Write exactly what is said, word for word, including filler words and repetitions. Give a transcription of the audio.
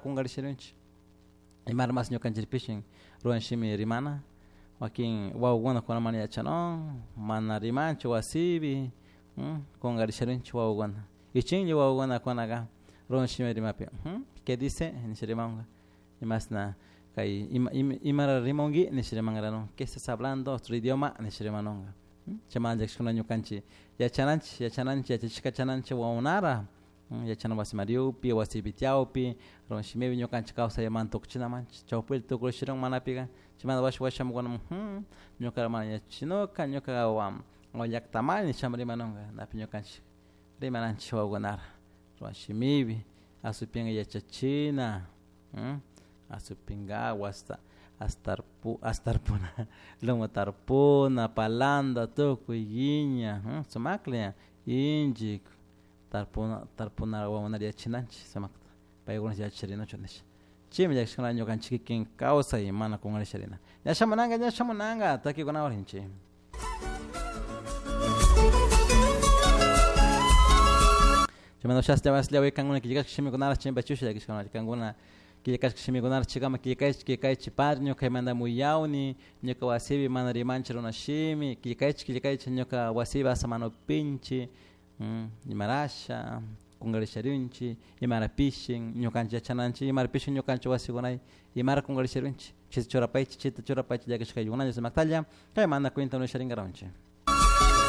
Kungarisharunchik imara mas ñukanchikpishin runa shimi rimana wakin wawakuna kuna mana yachanun mana rimanchu wasipi kungarisharunchik wawakuna ichinlla wawakuna kunaka runa shimi rimapi ¿qué dice? Nisha rimanka imasna kay ima imara rimanki nisha rimankaranun ¿qué estás hablando? Otro idioma nisha rimanunka chaymanta llakishkuna ñukanchik yachananchik yachananchik yachachishka kachananchik wawakunara yachana wasi mariyupi wasipi tiyawpi runa shimipi ñukanchik kawsaymanta tukuchinamanchik chawpila tukurishirun manapika chaymanta washa washamukuna ñuka mana yachachinuka ñuka llaktamari nishama rimanunka napi ñukanchik rimananchik wawakunara runa shimipi asupinka yachachina asupinkawa hasta astarpu astarpuna lumu tarpuna palanta tukuy guiña sumakla inchik tarpuna tarpuna wawakunata yachinanchik sumakta paykuna yacharinuchun nisha chaymi llakishkuna ñukanchik kikin kawsay mana kungarisharina ña shamunanka ña shamunanka takikunawan rinchik. Chaymanta shaslla waslla kankuna killkashka shimikunara chimpachusha llakishkuna kankuna killkashka shimikunara chikama killkaychik killkaychik padre ñuka kaymanta muyawni ñuka wasipi mana rimanchik runa shimi killkaychik killkaychik ñuka wasipi asa mana upinchik imarasha kungarisharunchik imara pishin ñukanchik yachananchik imara pishin ñukanchik wasikunay imara kungarisharunchik chayta churapaychik chayta churapaychik llakishkaykunalla sumaktalla kay mana cuenta nisharinkaranchik.